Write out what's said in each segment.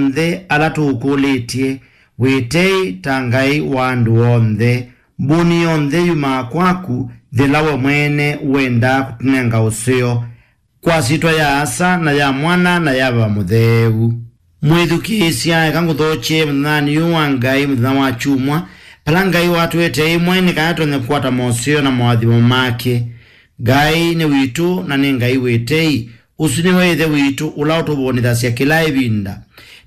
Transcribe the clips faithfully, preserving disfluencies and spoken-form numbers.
onthe ala tũũkũlĩtye, wĩtei ta Ngai wa andũ onthe. Mbũni yonthe yumaa kwaku, yĩla we mwene wendaa kũtũnenga ũseo, kwa syĩtwa ya Asa, na ya Mwana, na ya Veva Mũtheu. Mwĩthukĩĩsya, eka ngũthokye mũthenyanĩ ũyũ wa Ngai, mũthenya wa kyumwa, vala Ngai watwĩte ĩmwe nĩ kana tũtonye kũkwata moseo na moathimo make. Ngai nĩ witũ, na nĩ Ngai wĩtei. Ũsu nĩwe Ĩthe witũ, ũla ũtũvũnĩthasya kĩla ĩvinda.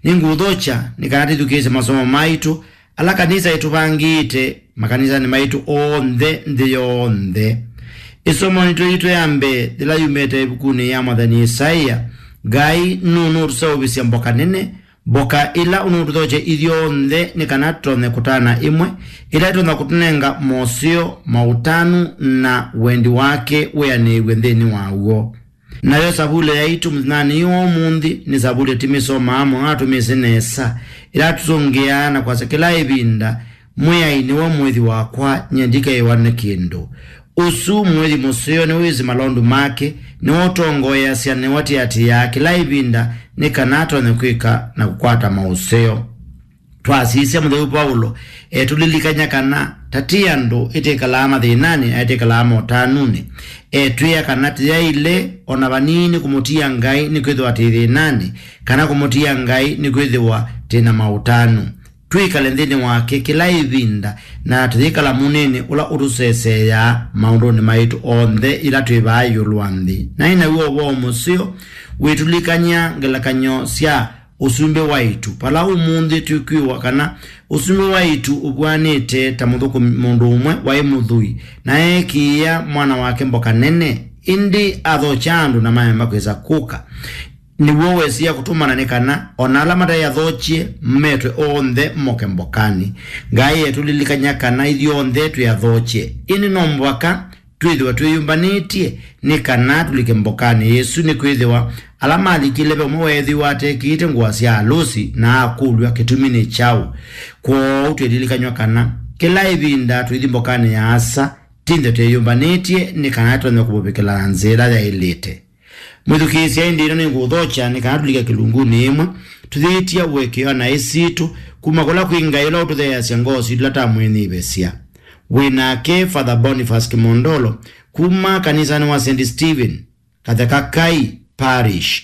Nĩngũũthokya nĩ kana twĩthukĩĩsye masomo maitũ, ala kanisa ĩtũvangĩte makanisanĩ maitũ onthe nthĩ yonthe. Ĩsomonĩ twĩtũ ya mbee, yĩla yumĩte ĩvukunĩ ya mwathani Isaia, Ngai nũnũũtũseũvĩsya mboka nene, mboka ĩla ũnũũtũthokya ithyonthe nĩ kana tũtonye kũtana ĩmwe, ĩla ĩtonya kũtũnenga moseo, maũtanu, na wendi wake wĩanĩĩw'e nthĩnĩ wa w'o. Nayo savulĩ yaitũ mũthenyanĩ ũyũ wa ũmũnthĩ nĩ savulĩ tũmĩsomaa mũno na tũmĩsĩ nesa, ĩla tũsũngĩaa na kwasya kĩla ĩvinda, "Mwĩai nĩwe mũĩthi wakwa, nyie ndikethĩwa nĩ kĩndũ." Ũsu mũĩthi mũseo nĩwĩsĩ malondu make, nĩwe ũtongoeasya, nĩwe ũatĩatĩĩaa kĩla ĩvinda nĩ kana atonye kwĩka na kũkwata maũseo. Twasisya mũtheu Vaulo etũlilikany'a kana ta ti andũ ĩtĩkalaa mathĩnanĩ na ĩtĩkalaa motanunĩ. Etwĩa kana tĩyaĩle o na vanini kũmũtia Ngai nĩkwĩthĩwa twĩ thĩnanĩ, kana kũmũtia Ngai nĩkwĩthĩwa twĩ na maũtanu. Twĩkale nthĩnĩ wake kĩla ĩvinda, na tũyĩkala munĩnĩ ũla ũtũseseeaa maũndũnĩ maitũ onthe yĩla twĩ vaa ĩũlũ wa nthĩ. Naĩ naw'o ũvoo mũseo wĩtũlilikany'a ngelekany'o sya ũsumbĩ wa ĩtu. Vala ũmũnthĩ twĩkwĩw'a kana ũsumbĩ wa ĩtu ũvw'anĩte ta mũthũkũmi mũndũ ũmwe waĩ mũthwii, na eekĩĩa mwana wake mboka nene, ĩndĩ athokya andũ na maema kwĩsa kũka. Nĩw'o wesie kũtũmana nĩ kana o na ala mataĩ athokye metwe onthe moke mbokanĩ. Ngai etũlilikany'a kana ithyonthe twĩ athokye, ĩndĩ no mũvaka twĩthĩwe twĩyũmbanĩtye nĩ kana tũlike mbokanĩ ĩsu, nĩkwĩthĩwa ala malikile ve ũmwe weethĩwa atekĩĩte ngũa sya alũsi na akũlw'a kĩtumi nĩ kyaũ. Kwoou twĩlilikany'a kana kĩla ĩvinda tũithi mbokanĩ ya Asa, tinthe twĩyũmbanĩtye nĩ kana tũtonye kũmũvikĩla na nzĩa ĩla yaĩlĩte. Mwĩthukĩĩsya, ĩndĩ ĩno nĩngũũthokya nĩ kana tũlike kĩlungunĩ ĩmwe, tũyĩtya ũekeo naĩ sitũ kuma kũla kwĩ Ngai ũla ũtũtheeasya ngoo sitũ ila tamwĩnyivĩsya. Wĩ nake Father Boniface Kimondolo kuma kanisanĩ wa Saint Stephen, Katheka Kai Parish,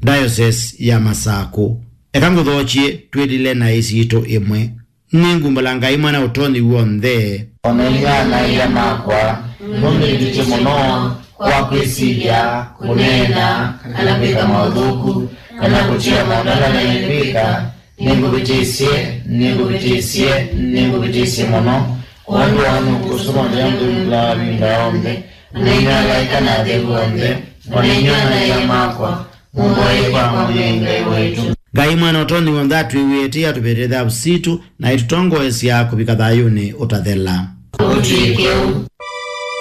Diocese ya Masakũ. Eka ngũthokye twĩlile naĩ sitũ ĩmwe. Nĩngũmbala Ngai Mwene Ũtonyi W'onthe. O na inyuĩ ana-a-ia makwa, nũndũ nĩndutye mũno kwa kwĩsilya, kũneena, kana kwĩka maũthũku, kana kũtia maũndũ ala naĩ kwĩka, nĩngũvĩtĩsye, nĩngũvĩtĩsye, nĩngũvĩtĩsye mũno. Kwondũ wa ũnũku ũsu no nginya mũthũmũkĩlawa ĩvinda yonthe, o na inyuĩ alaĩka na atheu onthe, o na inyuĩ ana-a-ia makwa, mũmboei kwa Mwene Ngai waitũ. Ngai Mwene Ũtonyi W'onthe atwĩw'ĩe tei, atũvetee thavu sitũ, na aitũtongoesya kũvika thayũnĩ ũtathela. Ũtw'ĩke ũu.